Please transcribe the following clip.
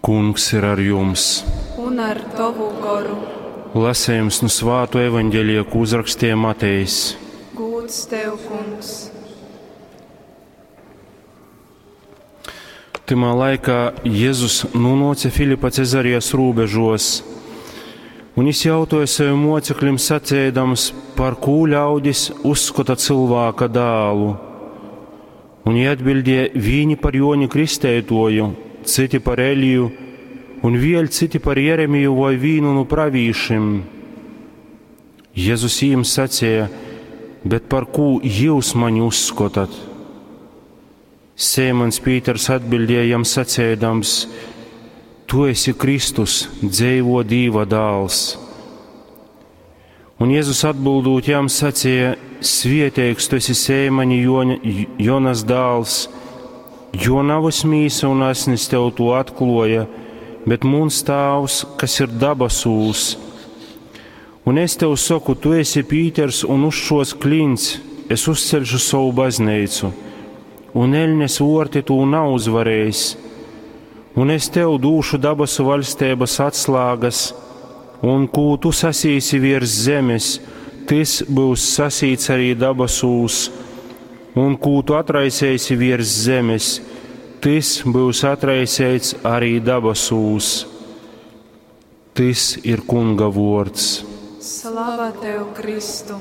Kungs ir ar jums! Un ar tovu goru. Lasējums nu svāto evaņģelija, ko uzrakstīja Matejs. Gūds tev, kungs! Tymā laikā Jēzus nonāca Filipa Cezarijas robežos, un viņš jautāja saviem mocekļiem sacēdams, par kū ļaudis uzskata cilvēka dēlu. Un viņi atbildēja vīni par Joni Kristētoju, citi par Eliju, un vēl citi par Jeremiju vai vīnu no pravīšim. Jēzus jiem sacīja, bet par kū jūs mani uzskotat? Sēmans Pīters atbildēja jam sacēdams, Tu esi Kristus, dzeivo Dīva dāls. Un Jēzus atbildot jam sacīja, Svieteigs tu esi Sēmaņa Joņa, Jonas dāls, jo navas mīsa un asnis tev to atkloja, bet muns tāvs, kas ir dabasūs. Un es tev saku, tu esi Pīters, un uz šos klints es uzcelšu savu baznīcu, un eļnes vorti tū nav uzvarējis. Un es tev dūšu dabasu valstības atslēgas, un kū tu sasīsi virs zemes, tas būs sasīts arī dabasūs, un kū tu atraisēsi virs zemes, tas būs atraisēts arī dabasūs. Tas ir Kunga vārds. Slava tev, Kristu!